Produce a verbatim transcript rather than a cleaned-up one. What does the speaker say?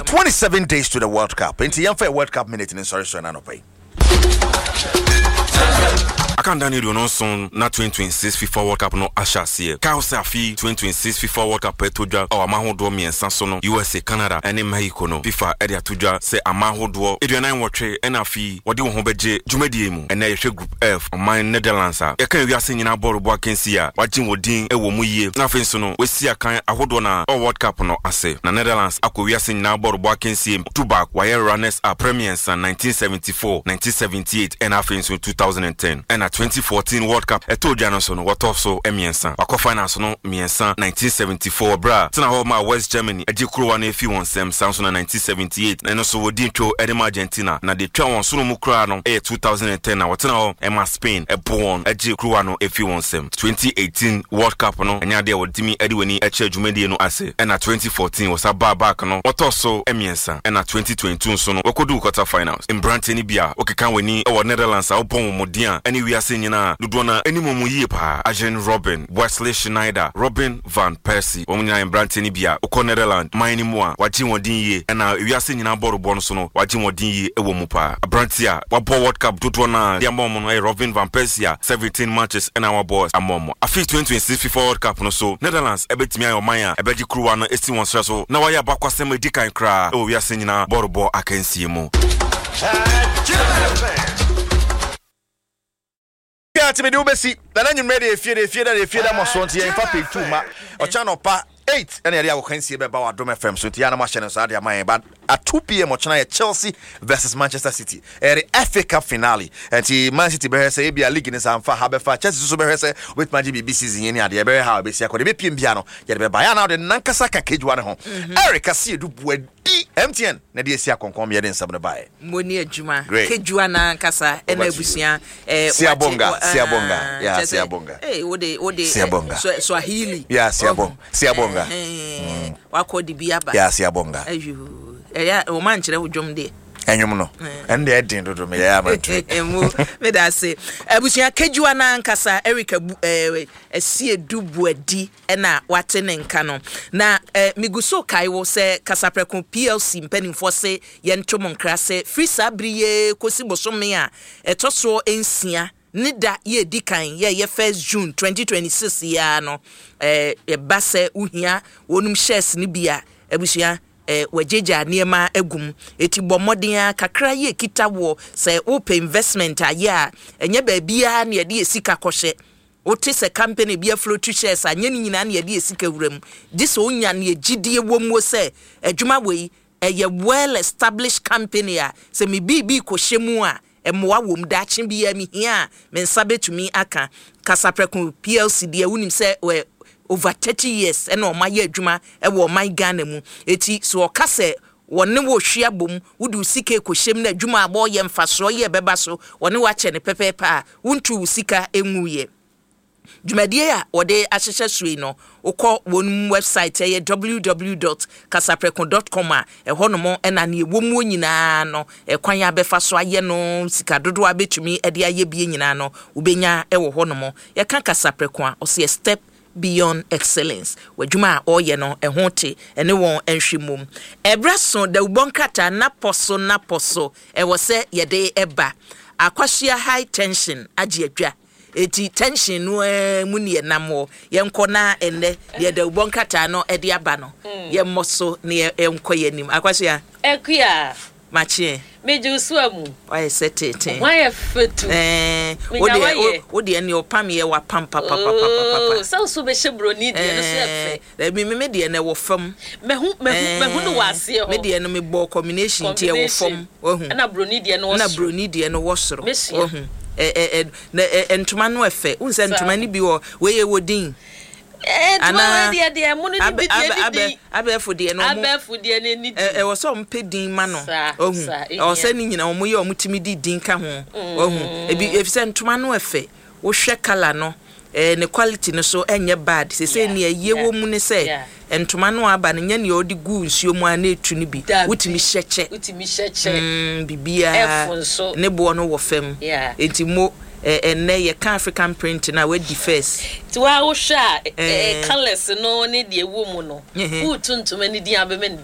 twenty-seven days to the World Cup, nti yɛmfa yɛ World Cup minute ne nsɔre sɔre no anɔpa yi. Akanda ne aduonu nson na twenty twenty-six FIFA World Cup no ahyɛ aseɛ. Kaw sɛ afe twenty twenty-six FIFA World Cup ɛtɔ dwa ɔwɔ ama ahodoɔ mmiɛnsa so no, U S A, Canada ɛne Mexico no. FIFA ɛde ato dwa sɛ ama ahodoɔ aduanan nwɔtwe ɛna afei wɔde wɔn ho bɛgye dwumadie mu. Ɛnɛ yɛhwɛ Group F, ɔman Netherlands a yɛka wiase nyinaa bɔɔlobɔ akansi a wagye wɔ din ɛwɔ mu yie, na afei nso no wɔasi akan ahodoɔ na ɔwɔ World Cup no ase. Na Netherlands akɔ wiase nyinaa bɔɔlobɔ akansie du baako, wɔayɛ runners up premiersa nineteen seventy-four, nineteen seventy-eight ɛna afei nso twenty ten. Ɛna twenty fourteen World Cup ɛtɔ dwa no so no, wɔtɔ so mmiɛnsa. Wakɔ finals no mmiɛnsa: nineteen seventy-four berɛ a tena hɔ ma West Germany agye kurowa no afi wɔn nsɛm, saa nso na nineteen seventy-eight na ɛno nso wɔdi ntwo ɛde ma Argentina, na de twa wɔn soro mu koraa no ɛyɛ twenty ten na wɔtena hɔ ɛma Spain ɛbo wɔn agye kurowa no afi wɔn nsɛm. twenty eighteen World Cup no, ɛnyɛ adeɛ a wɔtumi ɛde w'ani ɛkyerɛ dwumadie no ase. Ɛna twenty fourteen wɔsa baa back no, wɔtɔ so mmiɛnsa. Ɛna twenty twenty-two nso no, wɔkɔduu quarter finals. Mmeranteɛ no bi a wɔkeka w'ani ɛwɔ Netherlands a wɔbɔ wɔn mmɔden a ɛne wiase nyinaa dodoɔ no anim mu yie paa: Arjen Robben, Wesley Sneijder, Robin van Persie, wɔn nyinaa mmeranteɛ no bi a wokɔ Netherlands man no mu a wagye wɔn din yie, ɛna wiase nyinaa bɔɔlobɔ no so no, wagye wɔn din yie ɛwɔ mu paa. Aberanteɛ a wabɔ World Cup dodoɔ no a de ama wɔn no ɛyɛ Robin van Persie a seventeen matches ɛna wabɔ ama wɔn. Afei twenty twenty-six FIFA World Cup no so, Netherlands ɛbɛtumi ayɛ ɔman a ɛbɛgye kuruwa no esi wɔn serɛ so na wayɛ abakwasɛm edi kan koraa ɛwɔ wiase nyinaa bɔɔlobɔ akansie mu. Ati mede wobɛsi na na nwummerɛ de efie de efie da de efie da mɔ so, nti yɛmfa page two ma ɔkyɛ nɔpa eight ɛna yɛde akɔkansie bɛba wɔ Adom F M so, nti yɛa na moahyɛ no saa de ama yɛn. But at two p m ɔkyena yɛ Chelsea versus Manchester City, ɛyɛ the F A Cup finale. Nti Man City bɛhwɛ sɛ ebia league ne sa mfa ha bɛfa, Chelsea nso bɛhwɛ sɛ wobɛtumi agye biribi season yi ne adeɛ ɛbɛhwɛ ha wobɛsi akɔ de bɛpiem bia no, yɛde bɛba yɛ ana wode nankasa ka kejuwa ne ho. Eric Asiedu Buadi, M T N na de asi akɔnkɔn yɛde nsɛm no baeɛ. Mo ni adwuma. Great. Kejuwa nankasa ɛna Over to you. Abusua eh, Siabonga, wate- ah, siabonga. Yeah, kyerɛ sɛ, siabonga. eh, wode wode eh, Siabonga. Swa- swahili Yeah, siabonga. Ɔho. Siabonga. Eh, eh, wakɔ de bi aba. Yɛ siabonga. Ayo, ɛyɛ ɔma nkyerɛ wo dwom deɛ. Ɛnwom no ɛno deɛ ɛden dodo, meyɛ amantu. Mu meda ase, abusua. Kejuwa nankasa Eric Abu eh, Asiedu Buadi ɛna wate ne nka no. Na eh, megu so kae wo sɛ Kasaprɛko P L C mpanimfoɔ se yɛnto mo nkra sɛ firi saa bere yi kɔsi bosome a ɛtɔ soɔ nsia ne da yɛdi kan yɛyɛ first June twenty twenty-six yi ara no, eh, yɛba sɛ wohia wɔnum shares no bi a, abusua, eh, wagyegya nneɛma agum, eti bɔ mmɔden a kakra yɛ kita woɔ sɛ wopɛ investment ayɛ a, ɛnyɛ baabiara na yɛde yɛ sika kɔhyɛ. Wote sɛ company bi afloat shares a, nyɛ ne nyinaa na yɛde yɛ sika wura mu, gye sɛ wonya ne gyidie wɔ mu sɛ adwuma wei ɛyɛ well established company a sɛ me biribi kɔhyɛ mu a, mmoa wɔ mu daakye biara mehia a, me nsa bɛtumi aka. Kasaprɛko P L C deɛ, wonim sɛ wɛ over thirty years ɛna ɔma yɛ adwuma ɛwɔ ɔman Ghana mu. Eti so ɔka sɛ wɔne wo hwe abom, wode wo sika ekɔhyɛm na adwuma a wɔyɛ mfasoɔ yɛ bɛba so, wɔne wakyɛ ne pɛpɛɛpɛ a wontu wo sika nwuyɛ. Dwumadie a wɔde ahyehyɛ so yi no, wokɔ wɔn website, ɛyɛ w w w dot kasaprɛko dot com a, ɛhɔ nom ɛna nea ɛwɔ mu nyinaa no, ɛkwan a bɛfa so ayɛ no, sika dodoɔ a bɛtumi de ayɛ bie nyinaa no, wobɛnya ɛwɔ hɔ nom. Yɛka Kasaprɛko a, ɔsɛ step beyond excellence. W'adwuma a ɔreyɛ no ɛho te, ɛne wɔn nhwɛ mom. Ɛberɛ so dawubɔ nkrataa napɔ so napɔ so ɛwɔ sɛ yɛde ɛba. Akwahyia high tension agye adwa, eti tension no ara mu ne yɛnam wɔ. Yɛnkɔ na ɛnnɛ deɛ dawubɔ nkrataa no ɛde aba no, yɛmmɔ so na yɛnkɔ yɛn anim. Akwahyia. Akua. Makyeɛ. Megye wo so amu. Wayɛ sɛ teten. Wayɛ fetu. Ɛɛ. Menya wodeɛ wayɛ. Wodeɛ ne ɔpam yɛ wapam papapapapa. Oh, sɛ wo so bɛhyɛ buroni deɛ no so yɛ fɛ. Ɛɛ, me me deɛ no ɛwɔ fam. Mahu mahu mahu no wɔ aseɛ hɔ. Me deɛ no mebɔ combination nti ɛwɔ fam, wahu. Ɛna buroni deɛ no wɔ na soro. Buroni deɛ no wɔ soro. Mesua. Wahu. Ɛ ɛ ɛ na ɛ ɛ ntoma no ɛfɛ, wohu sɛ ntoma no bi wɔ wei yɛ wɔ din. Ɛɛ, ntoma Anaa wei deɛ deɛ mo no ne abɛ bi deɛ abɛ ne abɛ din. Abɛɛfo deɛ no ɔmo Abɛɛfo deɛ no ne din. ɛ ɛwɔ sɛ ɔmo pɛ din ma no. Saa, Wahu. saa, Ɛwɔ sɛ ehia. ne nyinaa ɔmo yɛ ɔmo tumi di din ka ho, wahu. Ebi efisɛ ntoma no ɛfɛ, wohwɛ colour no, ɛɛ ne quality no so ɛnyɛ bad sese. Yeah, nea ɛyɛ wɔ mu ne sɛ yeah. ntoma no aba no nyɛ nea ɔde gu nsuo mu a na etu no bi. Dabi. Wotumi hyɛ kyɛ. Wotumi hyɛ kyɛ. Mm, biribiara. Ɛfo nso. Ne boɔ no wɔ fam. Yeah. Eti mo ɛ ɛnɛ yɛka African print na wadi first. Nti waa wohwɛ a, Eh. ɛ colours no ne deɛ ɛwɔ mu no, Mhm. wotu ntoma ne din abɛma ne din.